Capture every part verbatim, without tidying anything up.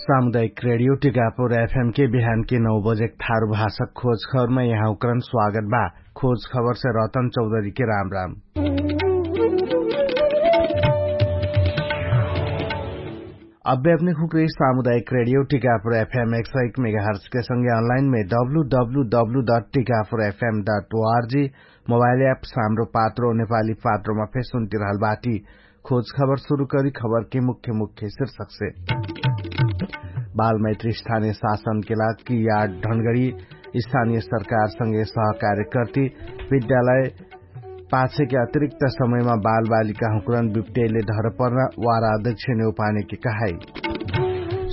सामुदायिक रेडियो टिकापुर एफएम के बिहान के नौ बजे थारु भाषा खोज खबरमा यहाँ उकरन स्वागत बा। खोज खबर से रतन चौधरी के राम राम। अब्बे अपने खुकरी सामुदायिक रेडियो टिकापुर एफएम एक सौ एक मेगाहर्ट्ज के संगे अनलाइन में W W W dot Tikapur F M dot O R G mobile app साम्रो पात्रो नेपाली पात्रोमा फेर सुन्तिरहल बाटी। खोज खबर सुरु करी खबर के मुख्य मुख्य शीर्षक से। बालमैत्री स्थानीय शासन के लाग कि याद ढनगडी स्थानीय सरकार संगे सहकार्य कर्ती विद्यालय पाछे के अतिरिक्त समयमा बालबालिका हुँक्रन बिप्टेले ढरपर्न वारा अध्यक्ष नेउपाने के कहाई।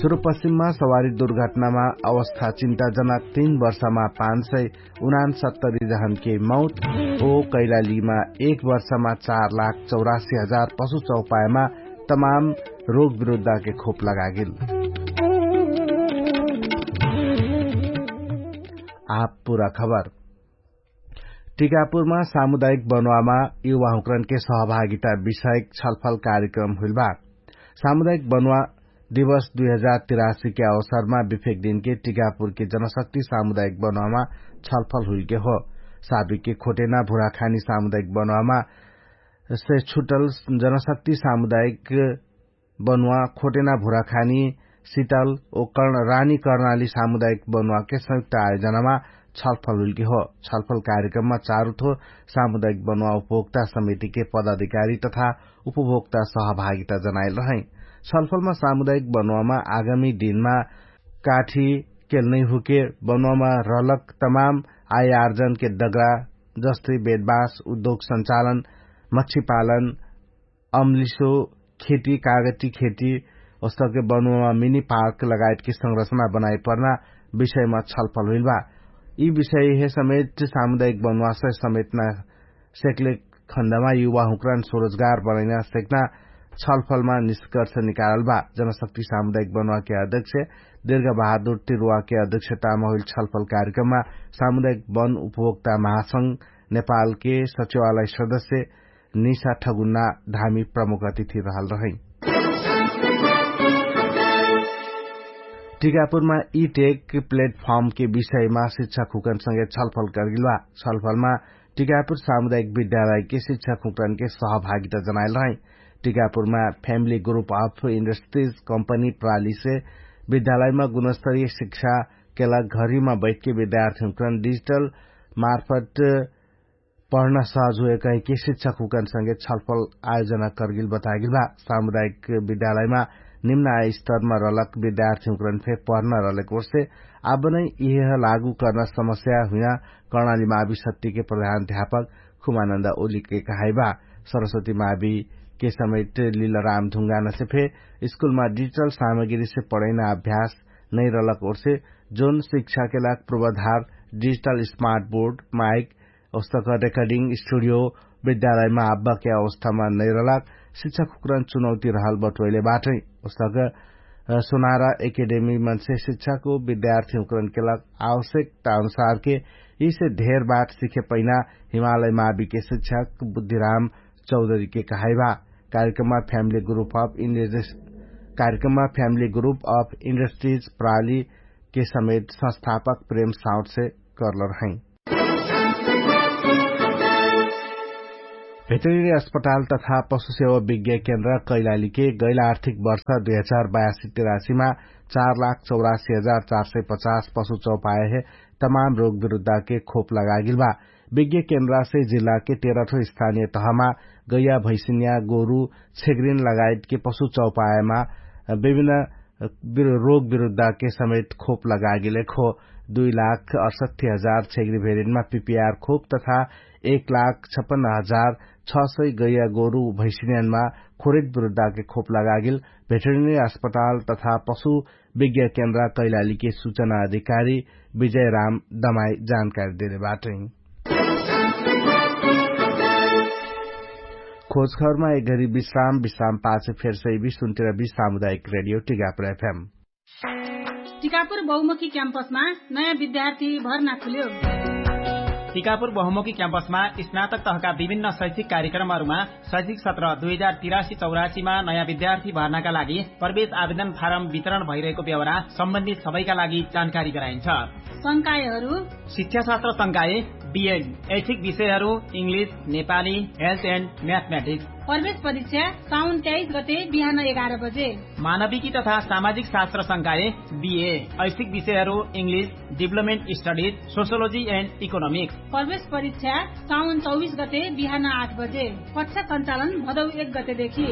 सुरुपश्चिममा सवारी दुर्घटनामा अवस्था चिन्ताजनक तीन वर्षमा पाँच सय उनान सत्तरी जहन के मौत ओ कैलालीमा एक वर्षमा चार लाख चौरासी हजार पशु चौपायमा तमाम रोग विरुद्धा के खोप लगागेल। आप पुरा खबर। टिकापुरमा सामुदायिक बनुवामा युवाहुँक्रन के सहभागिता विषयक छलफल कार्यक्रम हुइल बा। सामुदायिक बनुवा दिवस दुई हजार तिरासी के अवसरमा बिफेक दिनके टिकापुरके जनशक्ति सामुदायिक बनुवामा छलफल हुइलके हो। साबिकके खोटेना भुराखानी सामुदायिक बनुवामा से छुटल जनशक्ति सामुदायिक बनुवा खोटेना भुराखानी सितल ओ कर्ण रानी कर्णाली सामुदायिक बनुवाके संयुक्त आयोजनामा छलफल हुइलके हो। छलफल कार्यक्रममा चारुथो सामुदायिक बनुवा उपभोक्ता समितिके पदाधिकारी तथा उपभोक्ता सहभागिता जनाइल रहै। छलफलमा सामुदायिक बनुवामा आगामी दिनमा काठी केलनैहुके बनुवामा रहलक तमाम आयार्जनके डगरा जस्तै बेदबास उद्योग सञ्चालन मच्छीपालन अम्लिसो खेती कागती खेती ओस्तके बनुवामा मिनी पार्क लगायतके संरचना बनाइपर्ना विषयमा छलफल हुइल बा। यि विषय हे समेत सामुदायिक बनुवासय समेतना सेक्ले खण्डमा युवाहुँक्रान स्वरोजगार बनैना सेक्ना छलफलमा निष्कर्ष निकारल बा। जनशक्ति सामुदायिक बनुवाके अध्यक्ष दीर्घ बहादुर तिरुवाके अध्यक्षतामा हुइल छलफल कार्यक्रममा सामुदायिक बन उपभोक्ता महासंघ नेपालके सचिवालय सदस्य निशा ठगुन्ना धामी प्रमुख अतिथि रहल रहै। टिकापुरमा ई टेक प्लेटफर्मके विषयमा शिक्षक हुकनसँगे छलफल करगिल बा। छलफलमा टिकापुर सामुदायिक विद्यालयके शिक्षक हुकनके सहभागिता जनाइल रहै। टिकापुरमा family group of industries company प्रालीसे विद्यालयमा गुणस्तरीय शिक्षाके लाग घरीमा बैठके विद्यार्थी हुकन डिजिटल मार्फत पढ्न सहज हुए कहिके शिक्षक हुकनसँगे छलफल आयोजना करगिल बतागिल बा। सामुदायिक विद्यालयमा निम्न आय स्तरमा रहलक विद्यार्थी हुकन फेर पढ्न रहलक ओर्से आबनै इहेह लागू कर्ना समस्या हुइना कर्णाली मावी सत्तिके प्रधान ध्यापक खुमानन्द ओलीके कहाइबा। सरस्वती मावीके समेट लिलराम धुङ्गानसे फेर स्कुलमा डिजिटल सामग्रीसे पढैना अभ्यास नैरलक ओर्से जोन शिक्षाके लाग प्रवधार डिजिटल स्मार्ट बोर्ड माइक ओस्तक रेकर्डिङ स्टुडियो विद्यालयमा आब्बाके अवस्थामा नैरलाग शिक्षक हुक्रन चुनौती रहल बटोइले बाटै। ओस्तक सोनारा एकेडेमी मन्से शिक्षक विद्यार्थी हुक्रनके लाग आवश्यकता अनुसारके यिसे धेर बाट सिखे पैना हिमालय माविके शिक्षक बुद्धिराम चौधरीके कहाइबा। कार्यक्रममा फ्यामिली ग्रुप अफ इन्डस्ट्रिज कार्यक्रममा फ्यामिली ग्रुप अफ इन्डस्ट्रिज प्रालीके समेत संस्थापक प्रेम साउटसे करलर हैं। भेटरिनी अस्पताल तथा पशुसेवा विज्ञा केन्द्र कैलालीके गैला आर्थिक वर्ष दुई हजार बयासी तिरासीमा चार लाख चौरासी हजार चार सय पचास पशु चौपाए हे तमाम रोग विरुद्धाके खोप लगागिल बा। विज्ञा केन्द्रासे जिल्लाके तेह्रठो स्थानीय तहमा गैया भैसिन्या गोरु छेग्रिन लगायतके पशु चौपाएमा विभिन्न रोग विरुद्धाके समेत खोप लगागिलेक हो। दुई लाख अठसट्ठी हजार छेग्री भेरिनमा पिपिआर खोप तथा एक लाख छपन्न हजार छ सय गैया गोरु भैसिन्यानमा खोरित विरुद्धाके खोप लगागिल भेटरिनी अस्पताल तथा पशु विज्ञा केन्द्र कैलालीके सुचना अधिकारी विजय राम दमाई जानकारी देले बाटै। खोजखबरमा एक घरी विश्राम विश्राम पाछ फेर सैबी सुन्तिर बी सामुदायिक रेडियो टिकापुर एफएम। टिकापुर बहुमुखी क्याम्पसमा नयाँ विद्यार्थी भर्ना खुल्यो। टिकापुर बहुमुखी क्याम्पसमा स्नातक तहका विभिन्न शैक्षिक कार्यक्रमहरूमा शैक्षिक सत्र दुई हजार तिरासी चौरासीमा नयाँ विद्यार्थी भर्नाका लागि प्रवेश आवेदन फारम वितरण भइरहेको व्यवहार सम्बन्धित सबैका लागि जानकारी गराइन्छ। संकायहरू शिक्षाशास्त्र संकाय, बिएड, ऐच्छिक विषयहरू, इङ्ग्लिस, नेपाली, हेल्थ एन्ड म्याथमेटिक्स। प्रवेश परीक्षा साउन तेइस गते बिहान एघार बजे। मानविकी तथा सामाजिक शास्त्र संकाय, बिए, ऐच्छिक विषयहरू, इङ्ग्लिस, डिभलपमेन्ट स्टडिज, सोसियोलोजी एन्ड इकोनोमिक्स। प्रवेश परीक्षा साउन चौबिस गते बिहान आठ बजे। कक्षा सञ्चालन भदौ एक गतेदेखि।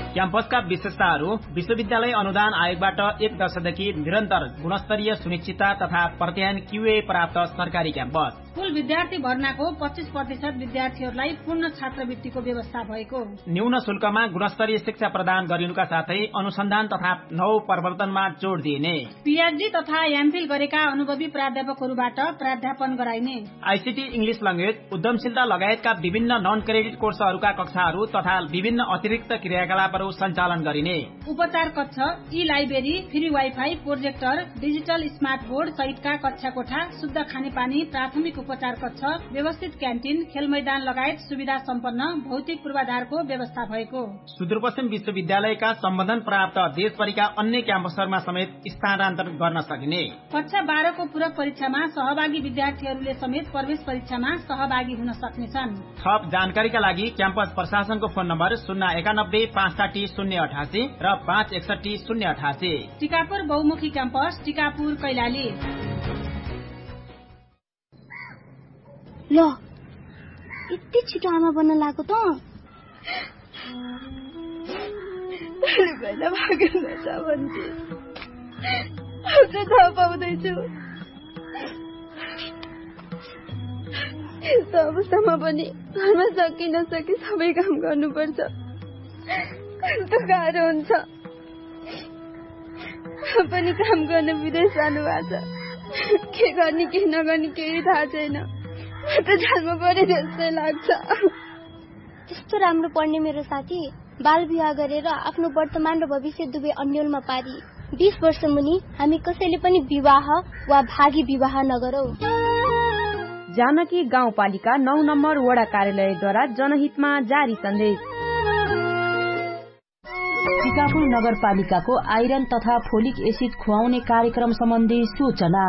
क्याम्पसका विशेषताहरू, विश्वविद्यालय अनुदान आयोगबाट एक दशकदेखि निरन्तर गुणस्तरीय सुनिश्चितता तथा प्रत्यायन क्युए प्राप्त सरकारी क्याम्पस। कुल विद्यार्थी भर्नाको पच्चिस प्रतिशत विद्यार्थीहरूलाई पूर्ण छात्रवृत्तिको व्यवस्था भएको। न्यून शुल्कमा गुणस्तरीय शिक्षा प्रदान गरिनुका साथै अनुसन्धान तथा नव प्रवर्तनमा जोड दिइने। पिएचडी तथा एमफिल गरेका अनुभवी प्राध्यापकहरूबाट प्राध्यापन गराइने। आइसिटी, इङ्ग्लिस ल्याङ्ग्वेज, उद्यमशीलता लगायतका विभिन्न नन क्रेडिट कोर्सहरूका कक्षाहरू तथा विभिन्न अतिरिक्त क्रियाकलापहरू सञ्चालन गरिने। उपचार कक्ष, ई library, free wifi, projector, digital smart board सहितका कक्षा कोठा, शुद्ध खानेपानी, प्राथमिक उपचार कक्ष, व्यवस्थित क्यान्टिन, खेलमैदान लगायत सुविधा सम्पन्न भौतिक पूर्वाधारको व्यवस्था भएको। सुदूरपश्चिम विश्वविद्यालयका सम्बन्धन प्राप्त देशभरिका अन्य क्याम्पसहरूमा समेत स्थानान्तरण गर्न सकिने। कक्षा बाह्रको पूरक परीक्षामा सहभागी विद्यार्थीहरूले समेत प्रवेश परीक्षामा सहभागी हुन सक्नेछन्। थप जानकारीका लागि क्याम्पस प्रशासनको फोन नम्बर शून्य एकानब्बे पाँच साठी शून्य अठासी र पाँच एकसठी शून्य अठासी। टिकापुर बहुमुखी क्याम्पस, टिकापुर, कैलाली। ल, यति छिटो आमा बन्न लागेको त? भोलि भएन भाग्यो नछ भन्थे। अझ थाहा पाउँदैछु। यस्तो अवस्थामा पनि घरमा सके नसके सबै काम गर्नुपर्छ। कस्तो गाह्रो हुन्छ। पनि काम गर्न विदेश जानुभएको छ। के गर्ने के नगर्ने केही थाहा छैन। म त जालमा परे जस्तै लाग्छ। त्यस्तो राम्रो पढ्ने मेरो साथी बाल विवाह गरेर आफ्नो वर्तमान र भविष्य दुवै अन्यलमा पारी। बिस वर्ष मुनि हामी कसैले पनि विवाह वा भागी विवाह नगरौँ। जानकी गाउँपालिका नौ नम्बर वडा कार्यालयद्वारा जनहितमा जारी सन्देश। टिकापुर नगरपालिकाको आइरन तथा फोलिक एसिड खुवाउने कार्यक्रम सम्बन्धी सूचना।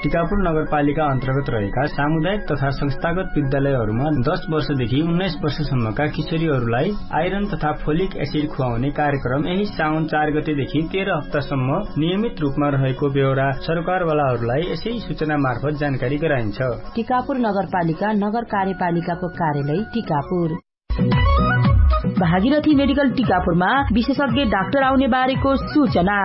टिकापुर नगरपालिका अन्तर्गत रहेका सामुदायिक तथा संस्थागत विद्यालयहरूमा दस वर्षदेखि उन्नाइस वर्षसम्मका किशोरीहरूलाई आइरन तथा फोलिक एसिड खुवाउने कार्यक्रम यही साउन चार गतेदेखि तेह्र हप्तासम्म नियमित रूपमा रहेको बेहोरा सरकारवालाहरूलाई यसै सूचना मार्फत जानकारी गराइन्छ। टिकापुर नगरपालिका नगर कार्यपालिकाको कार्यालय टिकापुर। भागीरथी मेडिकल टिकापुरमा विशेषज्ञ डाक्टर आउने बारेको सूचना।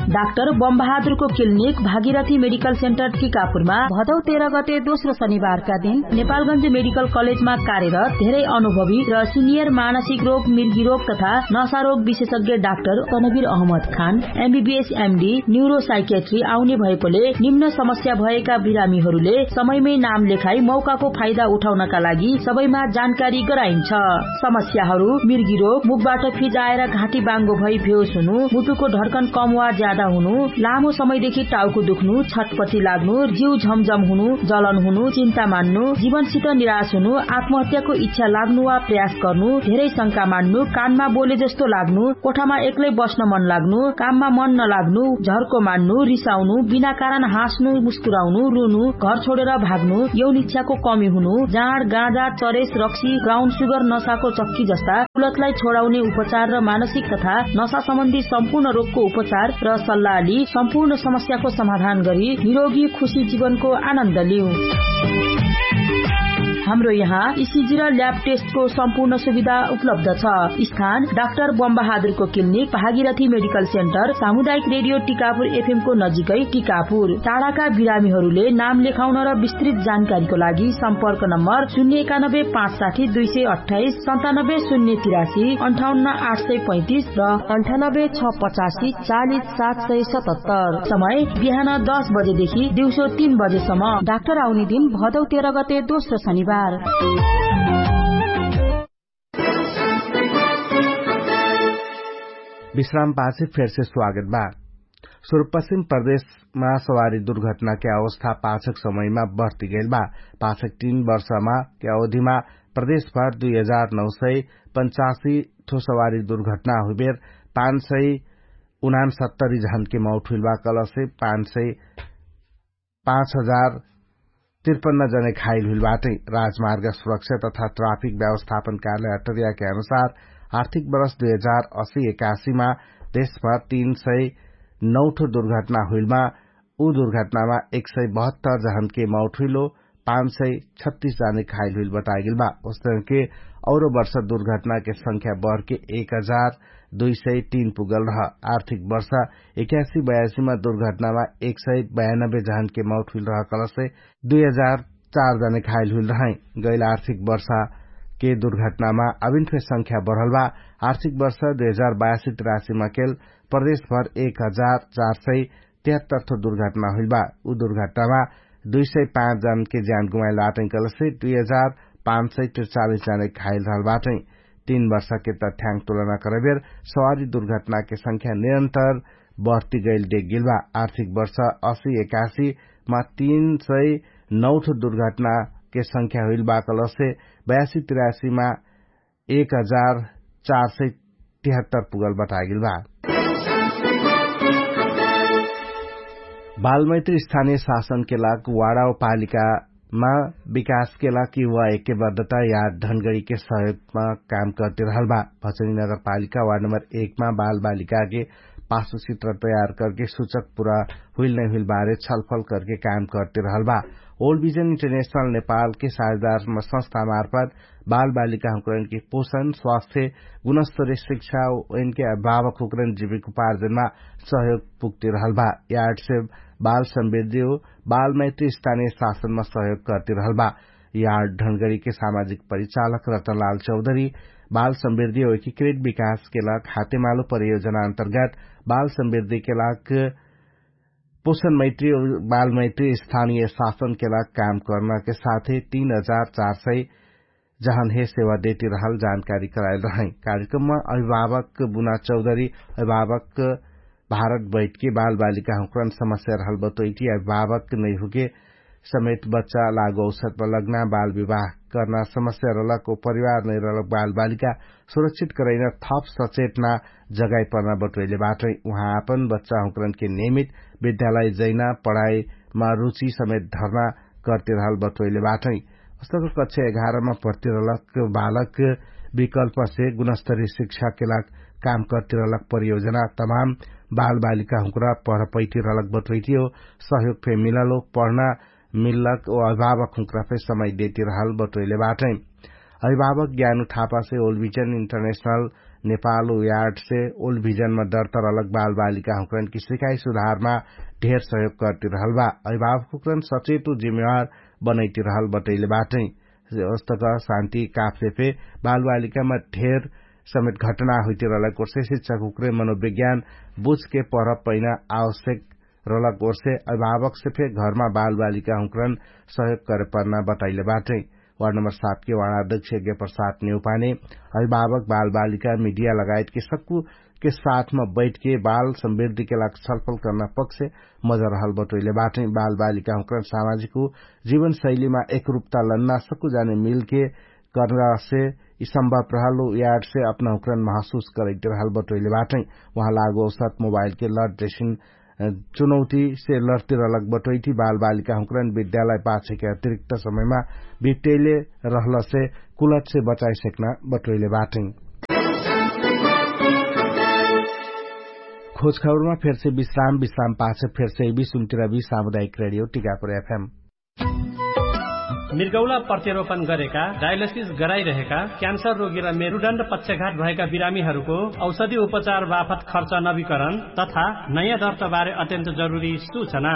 डाक्टर बमबहादुरको क्लिनिक भागीरथी मेडिकल सेन्टर टिकापुरमा भदौ तेह्र गते दोस्रो शनिबारका दिन नेपालगञ्ज मेडिकल कलेजमा कार्यरत धेरै अनुभवी र सिनियर मानसिक रोग, मिर्गी रोग तथा नशा रोग विशेषज्ञ doctor Tanveer Ahmad Khan MBBS MD neuropsychiatry आउने भएकोले निम्न समस्या भएका बिरामीहरूले समयमै नाम लेखाई मौकाको फाइदा उठाउनका लागि सबैमा जानकारी गराइन्छ। समस्याहरू मिर्गी रोग, मुखबाट फिजाएर घाँटी बाङ्गो भई बेहोस हुनु, मुटुको ढड्कन कम वा ज्यादा हुनु, लामो समयदेखि टाउको दुख्नु, छटपटी लाग्नु, जिउ झमझम हुनु, जलन हुनु, चिन्ता मान्नु, जीवनसित निराश हुनु, आत्महत्याको इच्छा लाग्नु वा प्रयास गर्नु, धेरै शंका मान्नु, कानमा बोले जस्तो लाग्नु, कोठामा एक्लै बस्न मन लाग्नु, काममा मन नलाग्नु, झर्को मान्नु, रिसाउनु, बिना कारण हाँस्नु, मुस्कुराउनु, रुनु, घर छोडेर भाग्नु, यौन इच्छाको कमी हुनु, जाँड, गाँजा, चरेस, रक्सी, ब्राउन सुगर, नसाको चक्की जस्ता कुलतलाई छोडाउने उपचार र मानसिक तथा नसा सम्बन्धी सम्पूर्ण रोगको उपचार र सल्लाह लि सम्पूर्ण समस्याको समाधान गरी निरोगी खुशी जीवनको आनन्द लिऊ। हाम्रो यहाँ इसिजी र ल्याब टेस्टको सम्पूर्ण सुविधा उपलब्ध छ। स्थान डाक्टर बमबहादुरको क्लिनिक, भागीरथी मेडिकल सेन्टर, सामुदायिक रेडियो टिकापुर एफएमको नजिकै टिकापुर। टाढाका बिरामीहरूले नाम लेखाउन र विस्तृत जानकारीको लागि सम्पर्क नम्बर शून्य एकानब्बे पाँच साठी दुई सय अट्ठाइस, सन्तानब्बे शून्य तिरासी, अन्ठाउन्न आठ सय पैँतिस र अन्ठानब्बे छ पचासी चालिस सात सय सतहत्तर। समय बिहान दस बजेदेखि दिउँसो तीन बजेसम्म। डाक्टर आउने दिन भदौ तेह्र गते दोस्रो शनिबार। विश्राम पाछे फेरसे स्वागत बा। सुरुपश्चिम प्रदेशमा सवारी दुर्घटनाके अवस्था पाछक समयमा बढ्तिगैलबा। पाछक तीन वर्षमा के अवधिमा प्रदेशभर दुई हजार नौ सय पञ्चासी ठो सवारी दुर्घटना हुइबेर पाँच सय उनान सत्तरी झनके मौठुइलबा कलसे पाँच सय पाँच हजार तिरपन्न जने घाइल हुइल बाटै। राजमार्ग सुरक्षा तथा ट्राफिक व्यवस्थापन कार्यालय अटरियाके अनुसार आर्थिक वर्ष दुई हजार असी एकासीमा देशभर तीन सय नौठो दुर्घटना हुइलमा उ दुर्घटनामा एक सय बहत्तर जहनके मौठुइलो पाँच सय छत्तीस जने घाइल हुइल बतागेल बा। उस्तनके औरो वर्ष दुर्घटनाके संख्या बढके एक हजार दुई सय तीन पुगल रह। आर्थिक वर्ष एकासी बयासीमा दुर्घटनामा एक सय बयानब्बे जहनके मौठुइल रह कलसे दुई हजार चार जने घाइल हुइल रहै। गैल आर्थिक वर्षा के दुर्घटनामा अभिन फे संख्या बढल बा। आर्थिक वर्ष दुई हजार बयासी तिरासीमा केल प्रदेशभर एक हजार चार सय तिहत्तर ठो दुर्घटना हुइल बा। उ दुर्घटनामा दुई सय पाँच जन के ज्यान गुमाइल बाटै कलसे दुई हजार पाँच सय तिरचालीस जने घाइल रहल बाटै। तीन वर्ष के तथ्याङ्क तुलना करबेर सवारी दुर्घटना के संख्या निरन्तर बढ्ती गैल देख गेल बा। आर्थिक वर्ष असी एकासी मा तीन सय नौ ठो दुर्घटना के संख्या हुइल बा कलसे बयासी तिरासी मा एक हजार चार सय तिहत्तर पुगल बतागेल बा। बालमैत्री स्थानीय शासन के लाग वाडा पालिका मा विकास के लाग युवा एके बद्धता या ढनगडी के सहयोग मा काम करते रहल बा। भचनी नगरपालिका वार्ड नम्बर एक मा बालबालिका के पासो चित्र तयार करके सुचक पुरा हुइल नै हुइल बारे छलफल करके काम करते रहल बा। ओल्ड भिजन इन्टरनेशनल नेपाल के साझेदार संस्था मार्फत बालबालिका हुँकरन के पोषण स्वास्थ्य गुणस्तरीय शिक्षा एनके अभिभावक हुँकरन जिविक उपार्जनमा सहयोग पुग्ते रहल बा। यार्ड से बाल समृद्धि हो बालमैत्री स्थानीय शासनमा सहयोग करते रहल बा। यार्ड ढनगडी के सामाजिक परिचालक रतनलाल चौधरी बाल समृद्धि हो एकीकृत विकास के लाग हातेमालो परियोजना अन्तर्गत बाल समृद्धि के लाग पोषण मैत्री और बाल मैत्री स्थानीय शासन के लाग काम करना के साथे तीन हजार चार सय जहन हे सेवा देती रहल जानकारी करायल रहै। कार्यक्रममा अभिभावक बुना चौधरी अभिभावक भारत बैठके बालबालिका हुँकरन समस्या रहल बतोइटी अभिभावक नैहुके समेत बच्चा लागु औसतमा लग्ना बाल विवाह करना समस्या रहलक ओ परिवार नैरहलक बालबालिका सुरक्षित करैना थप सचेतना जगाइ पर्ना बटोइले बाटै। उहाँ आपन बच्चा हुँकरन के नियमित विद्यालय जैना पढाइमा रुचि समेत धर्ना करते रहल बटोइले बाटै। अस्तक कक्षा एघारमा पढ्तिरहलक बालक विकल्पसे गुणस्तरी शिक्षाके लाग काम करतिरहलक परियोजना तमाम बालबालिका हुँक्रा पढपैतिरहलक बटोइतियो सहयोग फे मिललो पढ्ना मिल्लक ओ अभिभावक हुँक्रा फे समय देतिरहल बटोइले बाटै। अभिभावक ज्ञानु थापासे ओल्भिजन इन्टरनेशनल नेपाल उ यार्डसे ओल्भिजनमा दर्तरहलक बालबालिका हुँक्रन कि सिकाइ सुधारमा ढेर सहयोग करतिरहल बा। अभिभावक हुँक्रन सचेत उ जिम्मेवार बनैतिरहल बटोइले बाटै। अस्तक शान्ति काफसे फे बालबालिकामा ढेर समेत घटना हुइतिरहलक ओर्से शिक्षक हुँक्रे मनोविज्ञान बुझके पढ पैना आवश्यक रहलक ओर्से अभिभावकसे फे घरमा बालबालिका हुँक्रन सहयोग करे पर्ना बटैले बाटै। वार्ड नम्बर सात के वार्ड अध्यक्ष यज्ञ प्रसाद नेउपाने अभिभावक बालबालिका मिडिया लगायत के सक्कु के साथमा बैठके बाल समृद्धिके लाग छलफल कर्ना पक्ष मजा रहल बटोइले बाटै। बालबालिका हुँक्रन सामाजिक उ जीवनशैलीमा एकरुपता लन्ना सक्कु जाने मिलके कर्नासे यि सम्भव रहल उ यार्डसे अपना हुँक्रन महसुस करैते रहल बटोइले बाटै। उहाँ लागु औसत मोबाइलके लट जैसिन चुनौतीसे लड्तिरहलक बटोइटी बालबालिका हुँक्रन विद्यालय पाछेके अतिरिक्त समयमा बिप्टैले रहलसे कुलटसे बचाइसक्ना बटोइले बाटै। खोजखबरमा फेरसे विश्राम विश्राम पाछे फेरसे बिसुन्तिरबी सामुदायिक रेडियो टिकापुर एफएम। मिर्गौला प्रत्यारोपण गरेका डायलिसिस गराइरहेका क्यान्सर रोगी र मेरुदण्ड पक्षघात भएका बिरामीहरूको औषधि उपचार बाफत खर्च नवीकरण तथा नयाँ दर्ताबारे अत्यन्त जरुरी सूचना।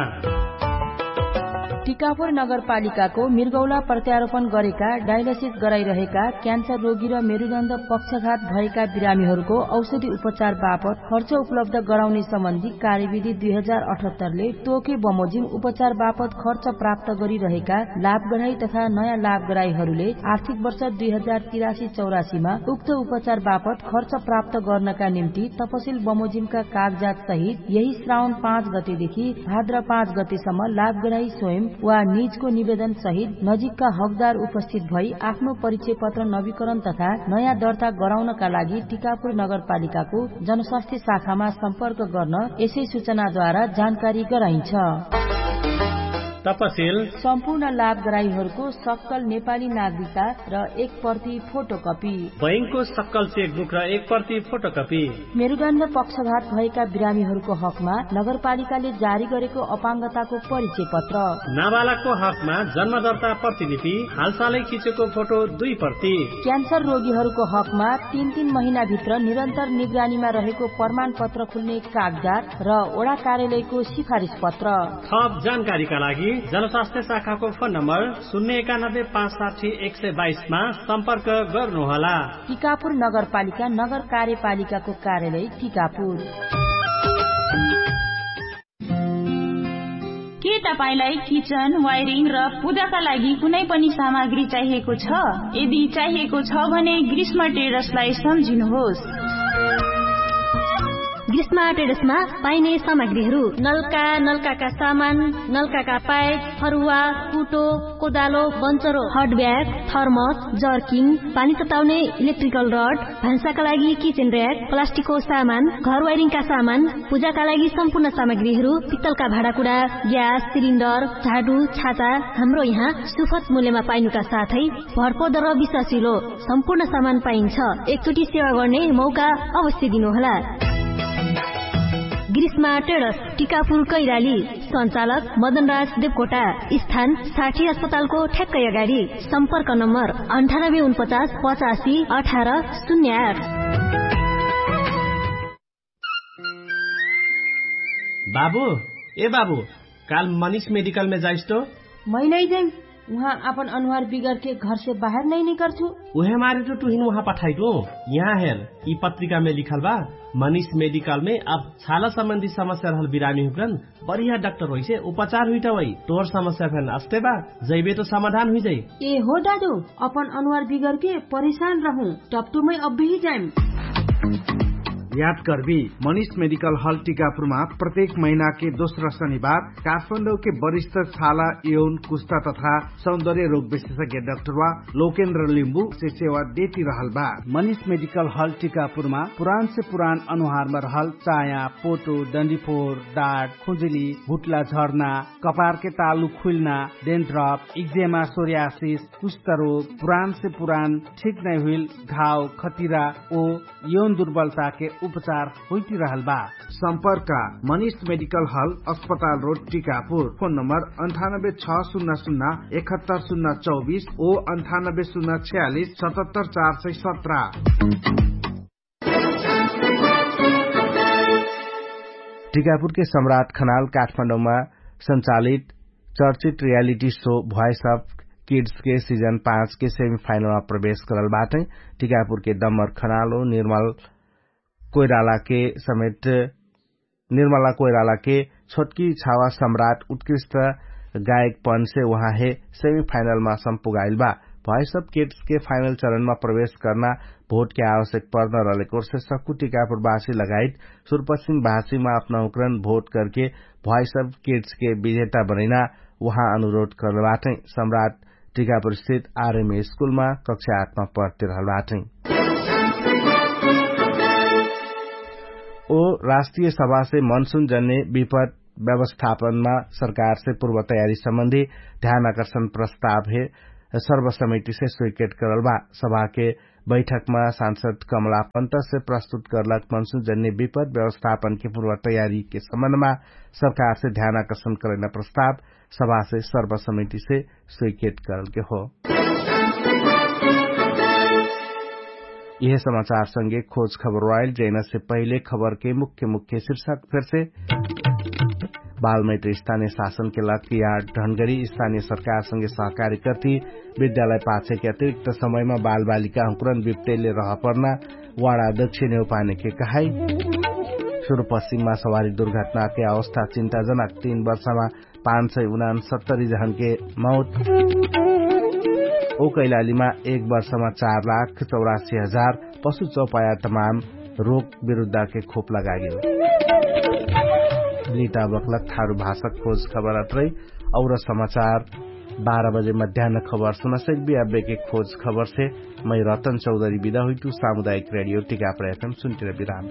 टिकापुर नगरपालिकाको मिर्गौला प्रत्यारोपण गरेका डायलिसिस गराइरहेका क्यान्सर रोगी र मेरुदण्ड पक्षघात भएका बिरामीहरूको औषधि उपचार बापत खर्च उपलब्ध गराउने सम्बन्धी कार्यविधि दुई हजार अठहत्तरले तोके बमोजिम उपचार बापत खर्च प्राप्त गरिरहेका लाभगराई तथा नयाँ लाभगराईहरूले आर्थिक वर्ष दुई हजार तिरासी चौरासीमा उक्त उपचार बापत खर्च प्राप्त गर्नका निम्ति तपसिल बमोजिमका कागजात सहित यही श्रावण पाँच गतेदेखि भाद्र पाँच गतेसम्म लाभगराई स्वयं वा निजको निवेदन सहित नजिकका हकदार उपस्थित भई आफ्नो परिचय पत्र नवीकरण तथा नयाँ दर्ता गराउनका लागि टिकापुर नगरपालिकाको जनस्वास्थ्य शाखामा सम्पर्क गर्न यसै सूचनाद्वारा जानकारी गराइन्छ। तपसिल सम्पूर्ण लाभगराईहरूको सक्कल नेपाली नागरिकता र एक प्रति फोटोकपी। बैंकको सक्कल चेकबुक र एक प्रति फोटोकपी। मेरुदण्ड पक्षघात भएका बिरामीहरूको हकमा नगरपालिकाले जारी गरेको अपाङ्गताको परिचय पत्र। नाबालकको हकमा जन्मदर्ता प्रतिलिपि, हालसालै खिचेको फोटो दुई प्रति। क्यान्सर रोगीहरूको हकमा तीन तीन महिनाभित्र निरन्तर निगरानीमा रहेको प्रमाणपत्र खुल्ने कागजात र वडा कार्यालयको सिफारिस पत्र। थप जानकारीका लागि जनस्वास्थ्य शाखाको फोन नम्बर शून्य एकानब्बे पाँच साठी एक सय बाइसमा सम्पर्क गर्नुहोला। टिकापुर नगरपालिका नगर कार्यपालिकाको कार्यालय टिकापुर। के तपाईंलाई किचन, वायरिङ र पूजाका लागि कुनै पनि सामग्री चाहिएको छ? यदि चाहिएको छ भने ग्रीष्म ट्रेडर्सलाई सम्झिनुहोस्। ग्रीष्म ट्रेडर्समा पाइने सामग्रीहरू नलका, नलकाका सामान, नलकाका पाइप, फरुवा, कुटो, कोदालो, बन्चरो, हट ब्याग, थर्मस, जर्किङ, पानी तताउने इलेक्ट्रिकल रड, भान्साका लागि किचन र्‍याक, प्लास्टिकको सामान, घर वायरिङका सामान, पूजाका लागि सम्पूर्ण सामग्रीहरू, पित्तलका भाँडाकुँडा, ग्यास सिलिन्डर, झाडु, छाता, हाम्रो यहाँ सुपथ मूल्यमा पाइनुका साथै भरपर्दो र विश्वासिलो सम्पूर्ण सामान पाइन्छ। एकचोटि सेवा गर्ने मौका अवश्य दिनुहोला। ग्रीष्मा ट्रेडर्स, टिकापुर कैराली। सञ्चालक मदनराज देवकोटा। स्थान साठी अस्पतालको ठ्याक्कै अगाडि। सम्पर्क नम्बर अन्ठानब्बे उनपचास पचासी अठार शून्य आठ। बाबु, ए बाबु, काल मनिष मेडिकलमे जाइस तो? मै नै जाइम। उहाँ आपन अनुहार बिगरके घरसे बाहेर नै निकर्छु। उहे मारे तो तुहिन उहाँ पठाइटु। यहाँ हेर, यि पत्रिकामे लिखल बा, मनिष मेडिकलमे अब छाला सम्बन्धी समस्या रहल बिरामी हुकरन बढ़िया डाक्टर होइसे उपचार हुइटा वइ। तोर समस्या फेन अस्ते बा, जैबे तो समाधान हुइजाइ। ए हो दादु, अपन अनुहार बिगरके परेशान रहु, तब तो मै अब्बेही जाइम। याद करबी, मनिष मेडिकल हल टिकापुरमा प्रत्येक महिनाके दोस्रा शनिबार काठमाडौके वरिष्ठ छाला, यौन, कुस्ता तथा सौन्दर्य रोग विशेषज्ञ डाक्टरवा लोकेन्द्र लिम्बु से सेवा देती रहल बा। मनिष मेडिकल हल टिकापुरमा पुरान से पुरान अनुहारमा रहल चाया, पोटो, डन्डीफोर, डाट, खुजुली, भुट्ला झर्ना, कपारके तालु खुइल्ना, डेन्ड्रप, इक्जेमा, सोरियासिस, कुष्ठरोग, पुरान से पुरान ठीक नै हुइल घाव, खतिरा ओ यौन दुर्बलताके उपचार होइती रहल बा। सम्पर्क मनिष मेडिकल हल, अस्पताल रोड, टिकापुर। फोन नम्बर अन्ठानब्बे छ सुन्ना सुन्ना एकहत्तर सुन्ना चौबिस ओ अन्ठानब्बे सुन्ना छयालिस सतहत्तर चार सय सत्र। टिकापुरके सम्राट खनाल काठमाडौँमा सञ्चालित चर्चित रियालिटी शो भ्वाइस अफ किड्सके सिजन पाँचके सेमिफाइनलमा प्रवेश करल बाटै। टिकापुरके डम्बर खनालो निर्मल कोइरालाके समेत निर्मला कोइरालाके छोटकी छावा सम्राट उत्कृष्ट गायकपनसे उहाँहे सेमिफाइनलमा सम्पुगाइल बा। भ्वाइस अफ किड्सके फाइनल चरणमा प्रवेश कर्ना भोटके आवश्यक पर्न रहलेकोर्से सक्कु टिकापुरवासी लगायत सुरपश्चिम भाषीमा अपना उक्रन भोट करके भ्वाइस अफ किड्सके विजेता बनैना उहाँ अनुरोध करल बाटै। सम्राट टिकापुरस्थित आरएमए स्कुलमा कक्षा आठमा पढ्ते रहल बाटै। ओ राष्ट्रिय सभासे मनसुन जन्ने विपद व्यवस्थापनमा सरकारसे पूर्व तयारी सम्बन्धी ध्यान आकर्षण प्रस्तावहे सर्वसमितिसे स्वीकृत करल बा। सभाके बैठकमा सांसद कमला पन्तसे प्रस्तुत करलक मनसुन जन्ने विपद व्यवस्थापनके पूर्व तयारीके सम्बन्धमा सरकारसे ध्यान आकर्षण करैना प्रस्ताव सभासे सर्वसमितिसे स्वीकृत करलके हो। यह समाचार संगे खोज खबर वाइल जैना से पहिले खबर के मुख्य मुख्य शीर्षक फिर से। बालमैत्र स्थानीय शासनके लक्ष्य यार्ड ढनगरी स्थानीय सरकारसँगे सहकारी कर्थी। विद्यालय पाछेके अतिरिक्त समयमा बालबालिका हुँकुरन विप्टैले रहपर्ना वाडा अध्यक्ष नेउपानेके कहाई। सुरुपश्चिममा सवारी दुर्घटनाके अवस्था चिन्ताजनक। तीन वर्षमा पाँच सय उनान सत्तरी जहनके मौत। ओ कैलालीमा एक वर्षमा चार लाख चौरासी हजार पशु चौपाया तमाम रोग विरुद्धके खोप लगागेल। लिटा बक्लक थारु भाषक खोज खबर अत्रै। और समाचार बाह्र बजे मध्यान्न खबर सुनसैक बियाबेके खोज खबरसे मै रतन चौधरी बिदा हुइटु। सामुदायिक रेडियो टिकाप्र एफएम सुन्टिर बिराम।